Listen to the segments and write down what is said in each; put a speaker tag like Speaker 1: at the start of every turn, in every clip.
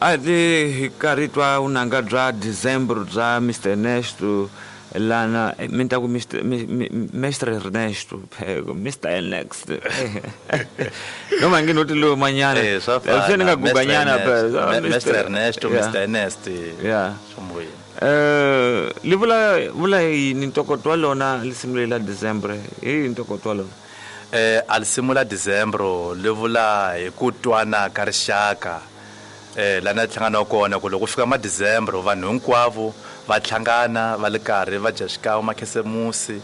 Speaker 1: A ti hi karhi twa vunanga bya December bya Mr Ernesto lana mi ta ku Mr Mestre Ernesto pheko Mr Ernest noma ngi noti lo manyana
Speaker 2: Eh, swa
Speaker 1: se ni
Speaker 2: fana.
Speaker 1: nga guganyana phela
Speaker 2: Mr. Ernesto,
Speaker 1: Yeah.
Speaker 2: Mr. Ernest.
Speaker 1: Yeah.
Speaker 2: Swa
Speaker 1: Li vula vula yini ntokoto wa lona lisimu leri la December hi yini ntokoto wa lona?
Speaker 2: A lisimu la December li vula hi ku twana ka rixaka lana hlangana kona ku loko fika ma December vanhu hinkwavo va hlangana va le karhi va dya xikan'we makhesemusi,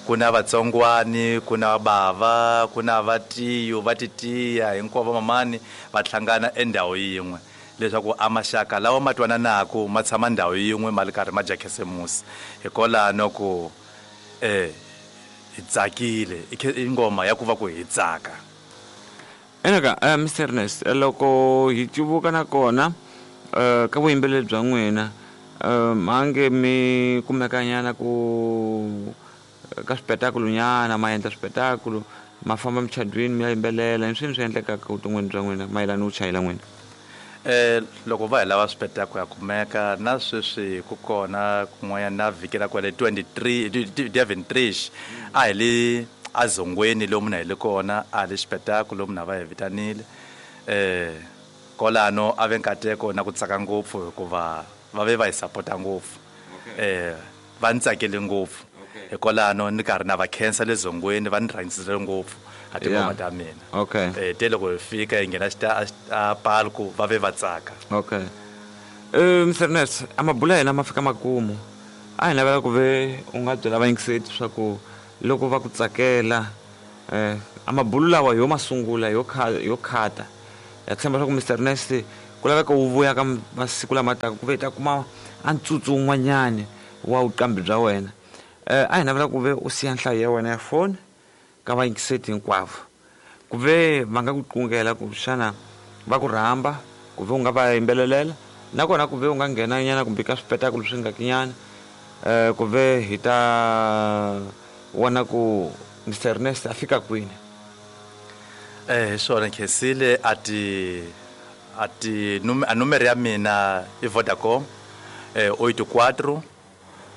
Speaker 2: ku na vatsongwani, ku na bava, ku na vatiyo, va titiya hinkwavo mamani va hlangana endhawu yin'we leswaku a maxaka lawa ma twananaku ma tshama ndhawu yin'we ma le karhi ma dya khesemusi. Hikwalano ku hi tsakile i ngoma ya ku va ku hi tsaka.
Speaker 1: Enaka Mr Ernest, loko hi cuvuka na kona ka vuyimbeleri bya n'wina, mhange mi kumekanyana ku ka swipetakulu nyana, ma endla swipetakulu, ma famba muchadwini mi ya yimbelela, i swini swi endlekaka vuton'wini bya n'wina mayelana no chayela n'wina?
Speaker 2: Loko va hi lava swipetakulu ya kumeka na sweswi ku kona kun'wanyana na vhiki ra kwale 23 23 a hi le azongweni lomu na hi le kona a hi le xipetakulu lomu na va hi vitanile. Kolano a ve nkateko na ku tsaka ngopfu hikuva va ve va hi sapota ngopfu. Va ni tsakele ngopfu. Hikwalano ni karhi na va khensa le zongweni, va ni rhangisile ngopfu a tingoma ta mina. Te loko hi fika hi nghena a palku va ve va tsaka.
Speaker 1: Mr Ernest, a mabula ya hina ma fika makumu. A hi navela ku ve u nga byela vayingiseti swa ku loko va ku tsakela a mabulu lawa yo masungula yo yo khata. Ya tshemba swa ku Mr Ernest ku laveka wu vuya ka masiku lama taka ku ve hi ta kuma a ntsutsu wun'wanyani wa vuqambi bya wena. A hi navela ku ve u siya nhlayo ya wena ya foni ka vayingiseti hinkwavo ku ve va nga ku qungela ku xana va ku rhamba ku ve u nga va yimbelelela, nakona ku ve u nga nghena nyana kumbe ka swipetakulu swi nga kinyana ku ve hi ta vona ku Mr Ernest a fika kwini.
Speaker 2: Hi swona Khensile, a ti a ti a numero ya mina i Vodacom 84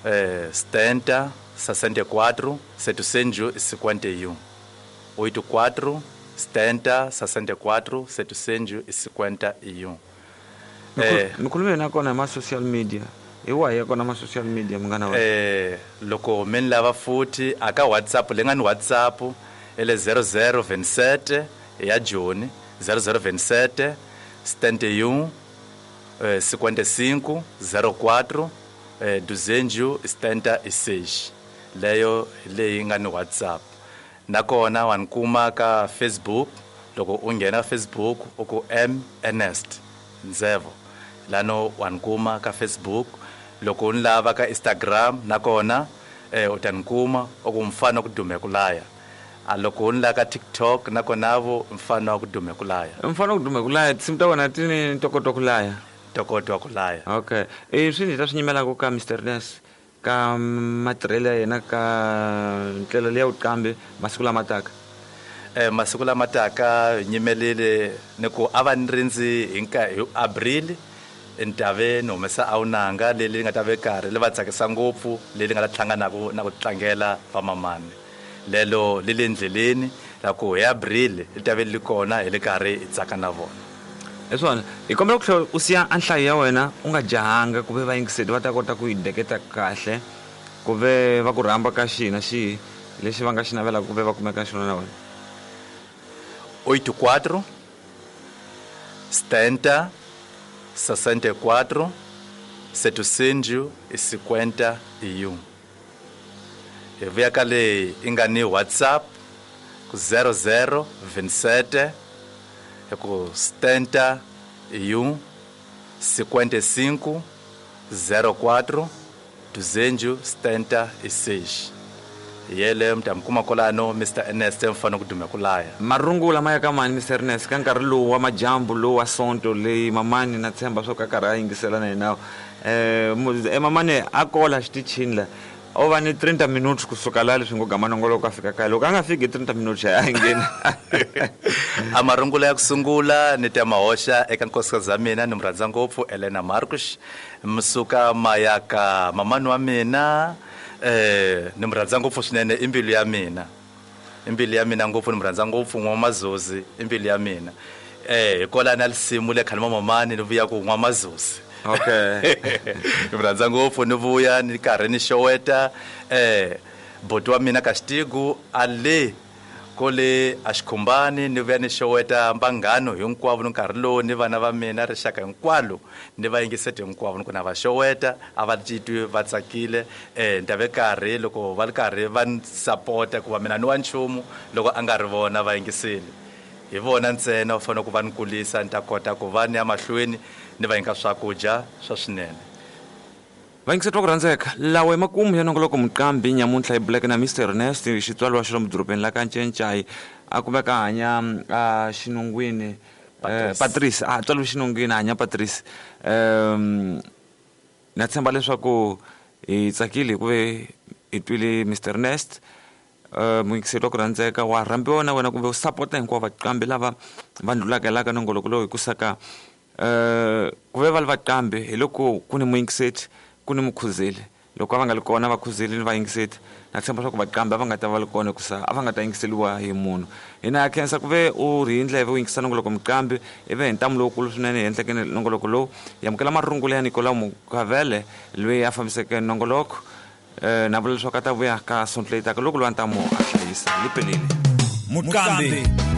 Speaker 2: 70 64 751 84 70 64 751.
Speaker 1: Mikhulumo yena kona hi ma social media, hi wahi ya kona ma social media munghana wa?
Speaker 2: Loko mi ni lava futhi a ka WhatsApp leyi nga ni WhatsApp i le 0027 ya Joni 0027 71 55 04 276, leyo hi leyi nga ni WhatsApp. Nakona wa ni kuma ka Facebook, loko u nghena Facebook u ku M Ernest Nzevo, lano wa ni kuma ka Facebook. Loko u ni lava ka Instagram nakona u ta ni kuma u ku mfana wa ku dume ku laya. A loko u ni lava ka TikTok nakona vo mfana wa ku dume ku laya.
Speaker 1: Mfana wa ku dume ku laya, tinsimu ta wena ti ni ntokoto wa ku laya.
Speaker 2: Ntokoto wa ku laya.
Speaker 1: Okay. Swi ni ta swi nyimelaka ka Mr Ernest ka matirhelo ya yena ka ndlela leya vuqambi masiku lama taka.
Speaker 2: Masiku lama taka hi nyimelile ni ku a va ni rindzi hi hi April ni ta ve ni humesa awunanga leri nga ta ve karhi li va tsakisa ngopfu, leri nga ta hlangana na ku tlangela vamamani. Lelo li le ndleleni la ku hi April li ta ve li kona hi le karhi hi tsaka na vona.
Speaker 1: Hi swona, hi kombela ku tlhela u siya a nhlayo ya wena u nga jahanga ku ve vayingiseri va ta kota ku yi deketa kahle, ku ve va ku rhamba ka xihi na xihi lexi va nga xi navelaka ku ve va kumeka xona na wena.
Speaker 2: 84 70 64 751. Hi vuya ka leyi i nga ni WhatsApp ku 00 27 hi ku 71 55 04 276. Yele mi ta mi kuma kwalano Mr Ernest mfana ku dume ku laya.
Speaker 1: Marungula ma ya ka mani Mr Ernest ka nkarhi lowu wa majambu lowu wa Sonto leyi mamani na tshemba swo ka karhi a yingisela na yena. Mamani a kola xitichini la. O va ni 30 minutes kusuka laha leswi ngo gama nongoloko a fika kaya. Loko a nga fiki hi 30 minutes a ngheni.
Speaker 2: A marungula ya ku sungula ni ta ma hoxa eka nkosikazi ya mina ni mu rhandza ngopfu Elena Marcus musuka mayaka mamani wa mina eh ni mu rhandza ngopfu swinene i mbilu ya mina i mbilu ya mina ngopfu ni mu rhandza ngopfu n'wamazozi i mbilu ya mina eh hi kola na lisimu le khale mamamani ni vuya ku n'wamazozi
Speaker 1: okay
Speaker 2: ni mu rhandza ngopfu ni vuya ni karhi ni xoweta eh boti wa mina ka xitigu a le kole a xikhumbani ni vuya ni xoweta mbanghano hinkwavo ni nkarhi lowu ni vana va mina rixaka hinkwalo ni va yingiseti hinkwavo ni ku na va xoweta a va titwi va tsakile um ni ta ve karhi loko va ri karhi va ni sapota ku va mina ni wa nchumu loko a nga ri vona va yingiseli hi vona ntsena va fanele ku va ni kulisa ni ta kota ku va ni ya mahlweni ni va nyika swakudya swa swinene.
Speaker 1: Vayingiseri va ku rhandzeka, lawa i makumu ya nongoloko Muqambi nyamuntlha hi buleke na Mister Ernest, xitswariwa xa lomu dorobeni la ka Ncencai, a kumeka a hanya a xinungwini
Speaker 2: Patrice.
Speaker 1: Patrice, a tswariwe xinungwini a hanya Patrice. Um na tshemba leswaku hi tsakile hi ku ve hi twile Mister Ernest. Muyingiseri wa ku rhandzeka wa rhambiwa na wena kumbe u sapota hinkwavo vaqambi lava va ndlulaka la ka nongoloko lowu hi ku saka ku ve va li vaqambi hi loko ku ni muyingiseti ku ni mukhuzeli loko a va nga li kona vakhuzeli ni vayingiseti na tshemba swa ku vaqambi a va nga ta va li kona hikusa a va nga ta yingiseliwa hi munhu hina ha khensa ku ve u ri hi ndleve u yingisa nongoloko muqambi i ve hi ntamu lowukulu swinene hi endleke nongoloko lowu hi amukela marungula ya Nicolau Mukavele loyi a fambiseke nongoloko na vula leswaku a ta vuya ka sonto leyi taka loko lowa ntamu a hlayisa yi pelile.
Speaker 3: Muqambi.